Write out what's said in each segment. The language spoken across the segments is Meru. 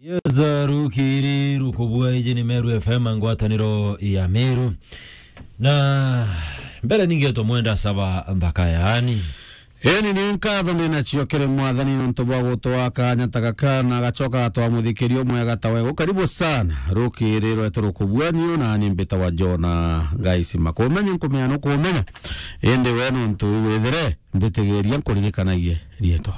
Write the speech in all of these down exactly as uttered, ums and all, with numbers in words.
Yes, rukiri rukubua, iji ni Meru F M, ngwataniro ya Meru. Na mbere ningetwa mwenda saba nthaka yaani. Eni ni nkatho ndinacio kiri Mwathani nontu bwa gutwaa kanya ta gaka na agacoka agatwaa muthikiri umwega ta we. Karibu sana. Rukiri rwetu rukubua, niu nani mbitawa Jona Gaisima. Kumenya nkumenya nukumenya. Indi we nontu withire mbitigiria nkuririkanagie riitwa.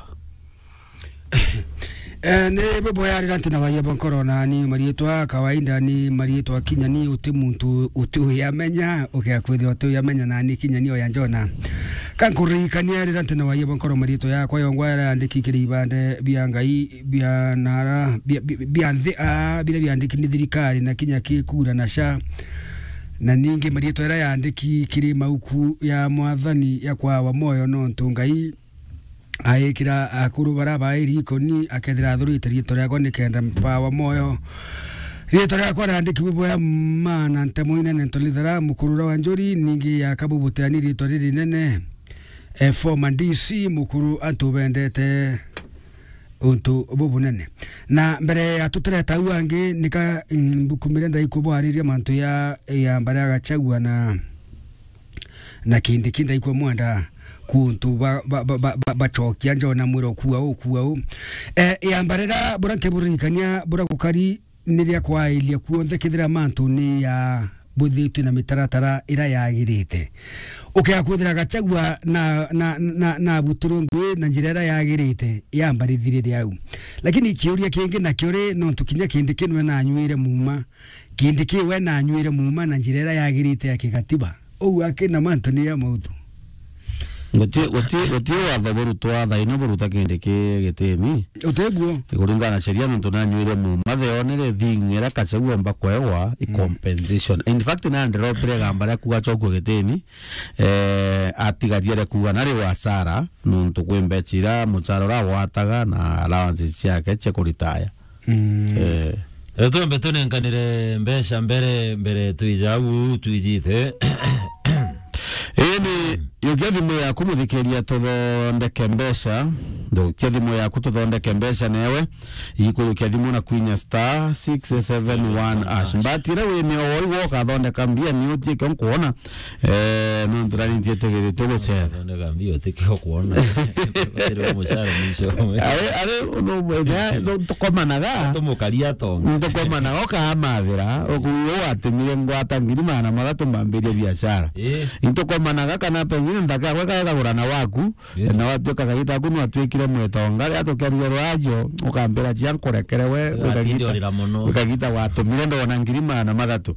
Eh, ni buboya rira ntina waia bwa nkoro na ni mariitwa kawaida ni mariitwa kinya ni uti muntu uti uyamenya, ukia kwithirwa uti uyamenya na ni kinya ni oya Jona. Ka nkuririkania rira ntina waia bwa nkoro mariitwa yakwa yongwa yara yandiki kiri ibande bia Ngai bia nara bia, bia, bia nthi, ah, biria biandiki ni thirikari na kinya ki kura na sha. Na ningi mariitwa yara yandiki kiri mauku ya Mwathani ya kwawa moyo nontu Ngai aikira akuru bara bairi ikoni, akethira athurite riitwa riakwa nikenda mpawa moyo. Riitwa riakwa riandikirwe bwea maana ntemo inene ntolithera mukuru uria wa njuri, ningi yaka bubuteani riitwa ririnene, eh, former D C mukuru antu bendete untu bubunene. Na mbere ya tutireta au angi, nika, mm, mbukumire ndaikubwariria mantu ya, ya mbere ya Gachagua na na Kindiki ndaikwa mwenda kuntu ba, ba, ba, ba, ba, bacokia Jona mwira ukua u, ukua u. Eh, yamba rira bura nkiburirikania bura gukari ni ria kwairia kuonthe kethira mantu ni ya buthitwe na mitaratara ira yagirite. Ukea kwithira Gachagua na, na, na, na abutirwe ngui na njira ira yagirite, yamba rithirire au. Lakini kiuria kingi nakio ri, nontu kinya Kindiki nwe nanyuire muma, Kindiki we nanyuire muma na njira ira yagirite ya kigatiba. Uu akina mantu ni ya mautu. Guti, guti, guti watho burutwa thaino buruta Kindiki gitini. Utiguo? Kuringana na sheria, nontu nanyuire muma, the only thing ira Gachagua omba kwegwa i compensation. In fact, na ndiropire gamba ria kuga chokua gitini, eh, atigaria ria kuga nari wasara, nontu kwi mbecha ira muchara ura agwataga na allowances ciake cia kuritaya. Mm. Eh. Eh, twambe tunenkanire mbeca mbere, mbere twija au twijite. Ii ni, yukia thimu yaku, muthikiria, tuthondeke mbeca. Yukia thimu yaku, tuthondeke mbeca newe. Ikuyukia thimu na kwinya star six seven one hash. Mbati ira wi nio woi woka thondeka mbia ni utie kio nkuona. Eh, nontu nani ntietigiritwe gucetha. Thondeka mbio, tikio kuona. Batiri umucara mwisho. Ari, ari, no, no, tukomanaga. Tumukaria tonga. Tukomanaga, ukamathira, ukuyo watemire ngwata ngiri magana mathatu mbambirie biashara. Eh. Intukomanaga kana pengine nthaka yakwa ikagagura na waku, eh, na watuika kagita aku nwatuikire mwetonga, ria tukiaruga rwajo, ukambira cia nkurekere we, wikagita, wikagita watumire ndona ngiri magana mathatu.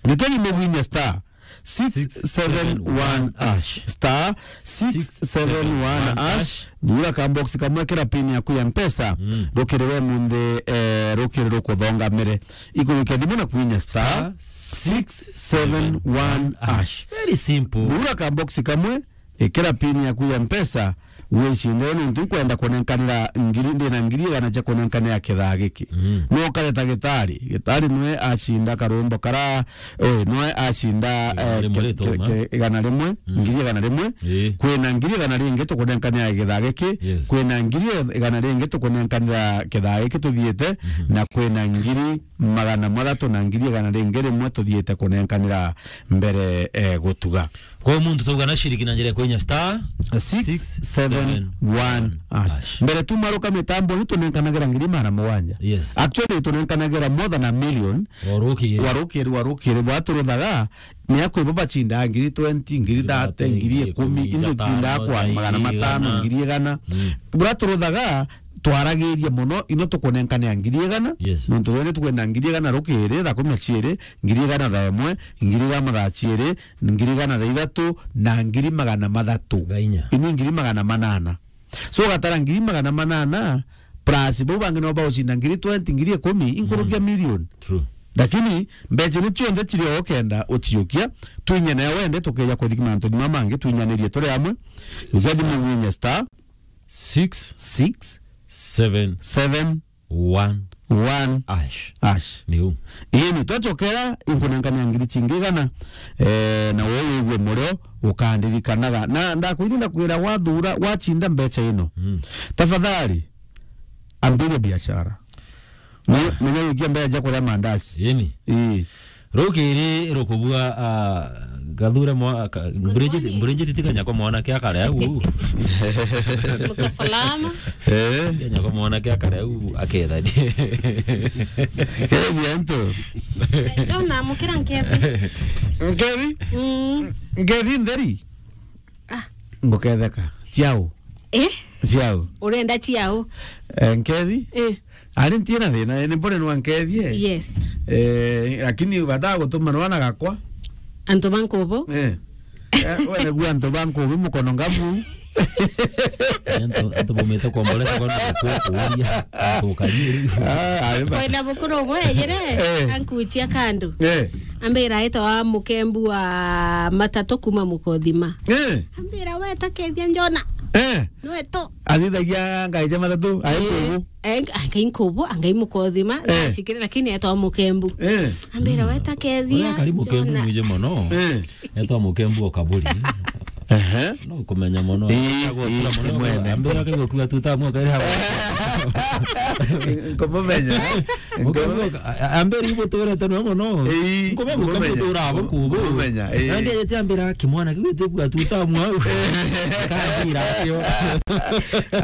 Nikeni mugwinye star six seven one hash. Star six seven one hash. Thura ka box kamwe, kira pin yaku ya Mpesa. Mm. Rukiri we munthi, eh, rukiri rukuthonga mere. Ikuyukia thimu na kwinya star six seven one hash. Very simple. Thura ka box kamwe, ikira pin yaku ya Mpesa, wicinde nontu nkwenda kunenkanira ngiri, ndina ngiri igana cia kunenkanira kithaa giki. Mm. No ukareta gitari, gitari nwe acinda karumbo kara, eh, nwe acinda, igana eh, rimwe ke-, rituma. Ke-, ke-, igana rimwe, mm, ngiri igana rimwe. Ii. Kwina ngiri igana ringi tukunenkanira kithaa giki, yes, kwina ngiri igana ringi tukunenkanira kithaa giki tuthiite, mhm, na kwina ngiri magana mathatu na ngiri igana ringi rimwe tuthiite kunenkanira mbere, eh, gutuga. Kwa muntu tauga na shiriki na njira ya kwinya star six seven one hash. Mbere tumaruka mitambo ni tunenkanagira ngiri magana mugwanja. Yes. Actually, tunenkanagira more than a million. Warukiri. Warukiri, warukiri, bwaturuthaga, ni akwi bo bachindaga ngiri twenty, ngiri thirty, ngiri ikumi, into tindaga kwa magana matano, ngiri igana. Mm. Buraturuthaga, twaragiria muno, ino tukunenkanira ngiri igana. Yes. Nontu rwene tukwenda ngiri igana rukiri, thaa kumi na ciiri, ngiri igana thaa imwe, ngiri igana thaa ciiri, ngiri igana thaa ithatu, na ngiri magana mathatu. Thaa inya. Inu ngiri magana manana. So, ugatara ngiri magana manana, plus bau bangi no bagucinda ngiri twenty, ngiri ikumi, inkurukia, mm, million. True. Lakini mbeca ni cionthe ciri o ukenda uciukia, twinye nayo wende, tukeja kuthiki mantu ni mamangi, twinyanirie turi amwe. Uja thimu winye star six seven one hash. One hash. Ni u. Ii, ni twacokera, inkunengania ngiri cingi igana, eh, na we wigue murio ukandirikanaga. Na ndakwiri, ndakwira, wathura, wacinda mbeca ino, mm, tafadhali, ambiria biashara. Ni, ni nyarukia mbere ja kuria mandazi. Ini. Ii. Rukiri rukubua, ah, gathure mwa-, ka-, Good Bridget, morning. Bridget ti kanyako mwanake akare au. Muko salama. Eh. Kanyako mwanake akare au akethani. Kenya nto. Jona, mukira nkethi. Nkethi? Mm. Nkethi ntheri? Ah. Nguketheka. Ciao. Eh? Ciao. Urenda ciao? Eh, nkethi? Eh. Ari ntiena thina, ni mbone nwa nkethie. Yes. Eh, lakini bata gutuma nwana gakwa. Antu ba nkubu? Eh. Eh, we niguo antu ba nkubu mukono ngabu. Antu, antu bumite kuombolesa kwa ndugu kuuria, antu ukariiri. Ah, ari ba- Kwenda bukuru bwejire, Eh. ankuchia kandu. Eh. Ambira aitwa Mukembu wa matatu kuma Mukothima. Eh. Ambira, "We ta kethia njona." Eh. Nwetu. Athithagia ngai ja matatu, ai Eh, nkubu. eh, ngai nkubu, angai Mukothima, Eh. ndacikire, lakini etwa Mukembu. Eh. Ambira, "We ta kethia Uria kari Mukembu njona." Mwije mono. Eh. Etwa Mukembu o kaburi. Ehe. No kumenya mono. Ii, Agwo tura ii, mono. Mwene. Ambira ke gukua tuta mwa kaira. Nkumumenya. Mukembu, a-, a-, ambira ibo tura tano mono. Ii, nkumenya Mukembu nkumumenya. Tura abo kubo. Nkumumenya, ii. Nandi ajete ambira kimwana kiu tibwa tuta mwa. Kandira kio.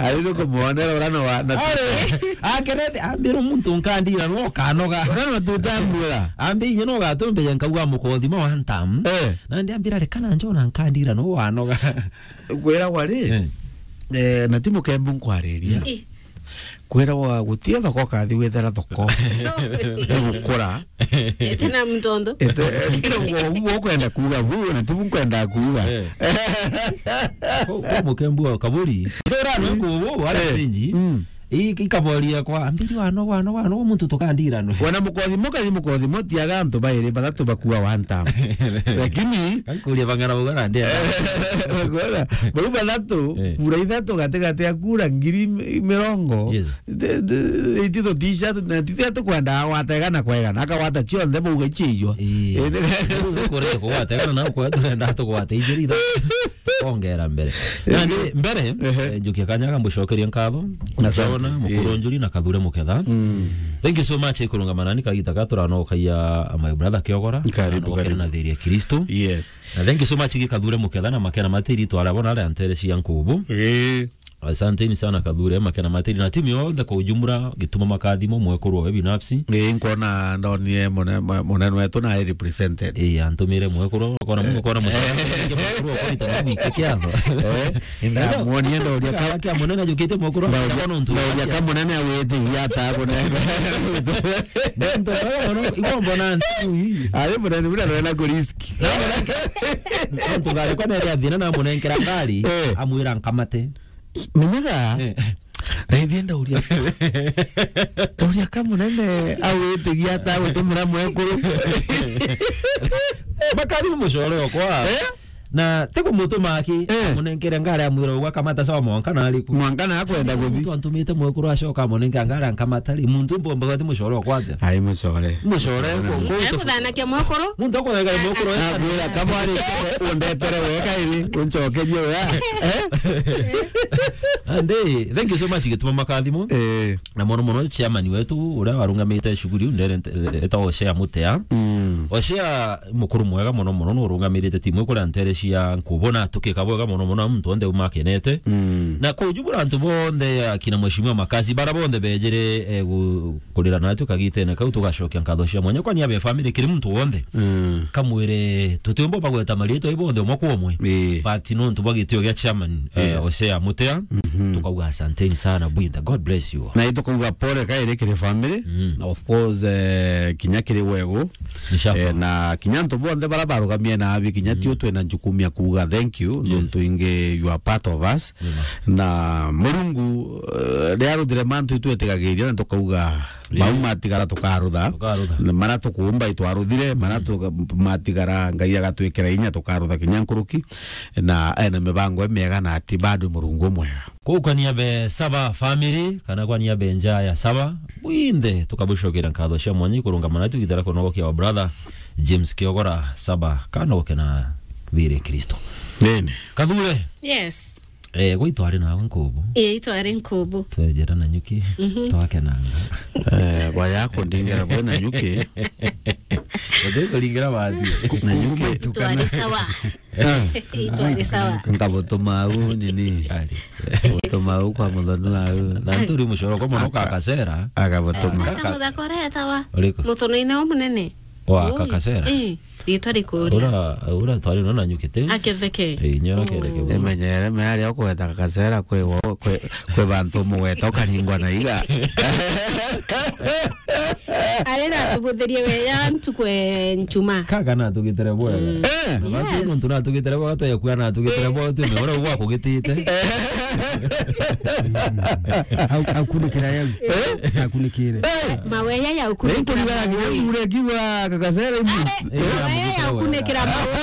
Ari no kumwonera urano wa na Ari, akerete ambira muntu nkandira no kanoga. Urano tutambura. Ambi inye no gatumbe nkauga Mukothima wa ntam. Eh. Nandi ambira, "Reka na njona nkandira no wanoga." Kwiragwa ri, Eh. eh, na ti Mukembu nkwariria. Eh. Kwiragwa gutie thoko kathi withera thoko. So, igukura. Ete na mtondo. Ete, ete uguo ukwenda kuuga bu, na ti bu nkwenda kuuga. Eh. Ko, ko Mukembu wa kaburi. Tora no kubu, wala Eh. stage. Mm. I-, ikaboria kwa, "Ambiri wano, wano, wano, muntu tukandiranwe." Wana Mukothimo, kathi Mukothimo, tiaga antu bairi, bathatu bakua one time. Lakini Kankuria bang'ana bauga na ndenda. Bakora, bau bathatu, Eh. kura ithatu gatigati ya kura ngiri mi-, mirongo. Yes. Iti tutisha, tu-, na titia tukwenda agwata igana kwa igana, akagwata cionthe bauga iciijwa. Ii. Indi Riu kure kugwata igana na kwa turenda tugwate ijiri ithatu. Ongera mbere. Nandi mbere, Ehe. eh, njukia kanya ga mbucokerie nkatho. Asante. Jona, Mukuru Ii. Njuri na Kathure Muketha. Mm. Thank you so much, ikurungama nani kagita ka turanokagia my brother Kiogora. Karibu, Turanokagia karibu. Na thiri ya Kristo. Yes. Na thank you so much, Gikathure Muketha na Makena Matiri, twara bona aria ntere cia nkubu. Ii. Asanteni sana Kathure, Makena Matiri na timu yonthe kwa ujumla, gituma makathimo mwekuru we binafsi. Ii, nkona ndonire mune-, mune-, munene wetu na represented. Ii, antumire mwekuru, kona mungu kona musa-, mwekuru kwa ita na wiki kiatho. Eh, inda muonie ndoria ka- Kia munene jukite mwekuru, ndauria, kona untu ndauria ka munene awite hiata kunenga. Nto, no, no, ibo mbona ntu hii. Ari munene bura rwena kurisk. Ntu gari kwa nere athina na munenkera ngari, Eh. amwira nkamate. Menyaga, Eh. na ithiĩ ndauria, ndauria ka mũnene awĩtĩgia ata gũtũmĩra mwekũrũ. Makari mũcore okwa. Eh? Na ti kũmũtũma aki, Eh. amũnenkere ngari amwĩra ũgwa kamata sawa mwanka na arĩkũ. Mwanka na akwenda gũthi. Mtu antumĩte mwekũrũ acoka amũnenka ngari ankamata rĩ, muntu mbomba gati mũcore okwa atia? Ai mũcore. Mũcore, Mũcore. Kũ-, kũ-, Ai kũthanakia mwekũrũ. Muntu akũthanakia mwekũrũ. Akwĩra kama arĩ ũndetere wega ĩrĩ, ũncokerie wega. Eh? Ande, thank you so much, Gituma Makathimo. Eh. Na mono mono chairman wetu, uria warungamite shughuli iu, ndere nte-, eta Hosea Mutea. Mm. Hosea mukuru mwega mono mono, no urungamirite timu iu kuria ntere cia nkubona tukika bwega mono mono, muntu onthe uma akenete. Mm. Na kwa ujumla antu bonthe, akina Mheshimiwa Makazi, bara bonthe bejere, eh, gu-, kurira natwe kagitene kau, tugacokia nkatho cia mwanya kwa niaba ya family, kiri muntu wonthe. Mm. Kamwire, tutiumba bagweta mariitwa ibonthe umwe kwa umwe. Ii. But nontu bwa gitio gia chairman, eh, Yes. Hosea Mutea, Mhm. tukauga asanteni sana bwinthe. God bless you. Na itukauga pole kairi kiri family. Mm. Of course, eh, kinya kiri wegu. Inshallah. Eh, na kinya antu bonthe bara barugamie na abi, kinya Mm. tio twina jukumu ya kuuga thank you, Yes. nontu ingi you are part of us. Amen. Na Murungu, eh, riria ruthire mantu itwitigagiria na tukauga Ii. Mau matigara tukarutha. Tukarutha. Na mara tukuumba itwaruthire, mara Mm. tu-, matigara Ngai agatwikira inya tukarutha kinya nkuruki. Na ena mibango imiega na ati bado Murungu umwega. Kuu kwa niaba ya Saba family, kana kwa niaba ya nja ya Saba, bwinthe tukabucokera nkatho cia mwanya ikurungama na tugitara kunogokia wa brother James Kiogora Saba, kanogoke na thiri Kristo. Nene. Kathure. Yes. Eh, gwe itwari nawe nkubu. Eh, itwari nkubu. Twejera Nanyuki, Mhm. twakenanga. Eh, baya kundingira bwe Nanyuki. Ndikuringira bathi. Nanyuki. Itwari sawa. Ah. Itwari sawa. Nkabutuma au nini? Ari. Butuma au kwa muthoni au. Na nturi mucoro kwa mono Aka- kakacera. Akabutuma. Aka- Ata muthaka uretawa? Uriku? Muthoni-ini umunene. Wa Ui. Kakacera. Eh, ritwa rikuria. Ura, ura twari no Nanyuki te. Aketheke. Eh, inya Mm. aketheke. Emenyere meari okweta kakacera kwe wo, kwe, kwe bantu mugweta ukaringwa na iga. Ari na tubuthirie we ya ntuku e nchuma. Kaka na tugitire bwega. Mm. Eh. Na batu Yes. muntu na tugitire bwega, twa yakua na tugitire bwega, tu me ura gwa kugitite. Au, akunikira yau. Akunikire. Eh. Maweya ya ukunikira. Nkurigara kinya mure kiwa kakacera ibu. Eh, maweya ya ukunikira mawe.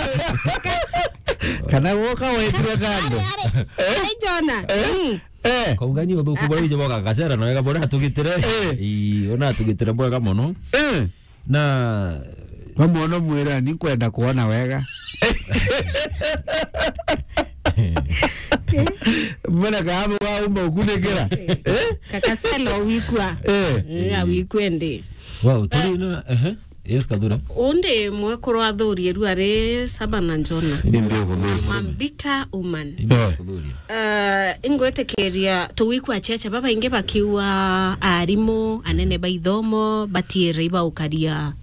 Kana woka wetirwe kando. Ari, ari Jona. Mm. Eh. Kaungani uthuku bora ije boka kakacera na wega bora atugitire. Eh. Ii, ona atugitire bwega mono. Eh. Na Wamwona mwira ni kwenda kuona wega. Mbona kaabu gaumba ukunikira? Eh? Kakacera wikua. Eh. Eh, awikue ndi. Wow, turi na, ehe. Yes, Kathura. Undi mwekuru athurie ru ari Saba na Jona. Ni ndio kuthuri. I'm a bitter woman. Ni ndio kuthuri. Uh, ingwitikiria tuwikua cheche babaingi bakiuga arimu, anene ba ithomo, batiere ibaukaria